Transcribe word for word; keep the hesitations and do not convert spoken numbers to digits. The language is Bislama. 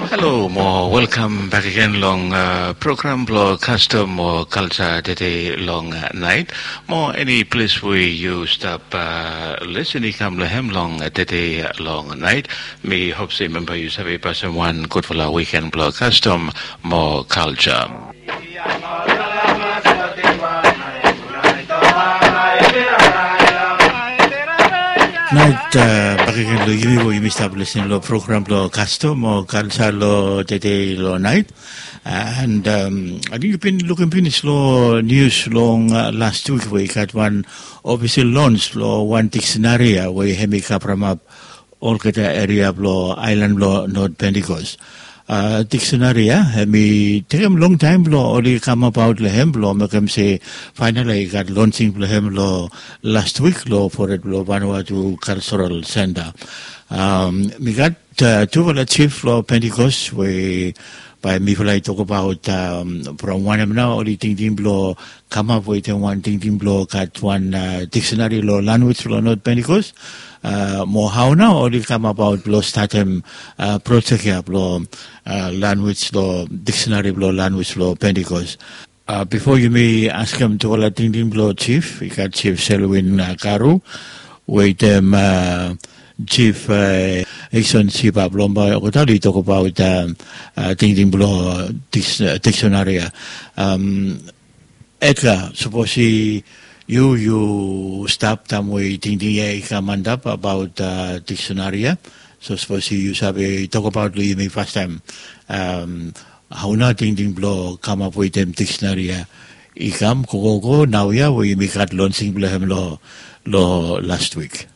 Halo mo welkam bek agen long program blong kastom o kalsa tede long nait. Mo eni ples we yu stap lesen i kam long hem long tede long nait, mi hop se memba yu save pasim wan gudfala wiken blong kastom mo kalsa. Nait bakegen long yumi we yumi stap lesen long program blong kastom o kalsa long tede long nait. And ating yu bin lukim pinis long nius long last wik we i gat wan ofisel lons blong wan diksinari ya we hem i kavremap olgeta eria blong ailan blong not pentikos. Diksinari ya hem i tekem longtaim blong oli kamabaot long hem blong mekem se fainala i gat lonsing blong hem long last wik long fored blong vanua tu kalsoral senta. Mi gat tufala jif long pentikos we bae mifala i tokbaot from wanem nao oli tingting blong kamap wetem wan tingting blong gat wan diksinari long lanwis blong not pentikos. Mo hao nao oli kamabaot blong statem projek ya blong lanwis long diksinari blong lanwis blong pentikos. Bifo yumi askem tufala tingting blong jif i gat jif selwin karu wetem jif ekson siba blong bae olgeta oli tokbaot tingting blong diksinari ya. Edgar, sapos i yu yu stap taem we tingting ya i kam antap abaot diksinari ya, so sapos i yu save tokbaot long yumi fastaem hao nao tingting blong kamap wetem diksinari ya i kam gogogo naoia we yumi gat lonsing blong hem long last wik?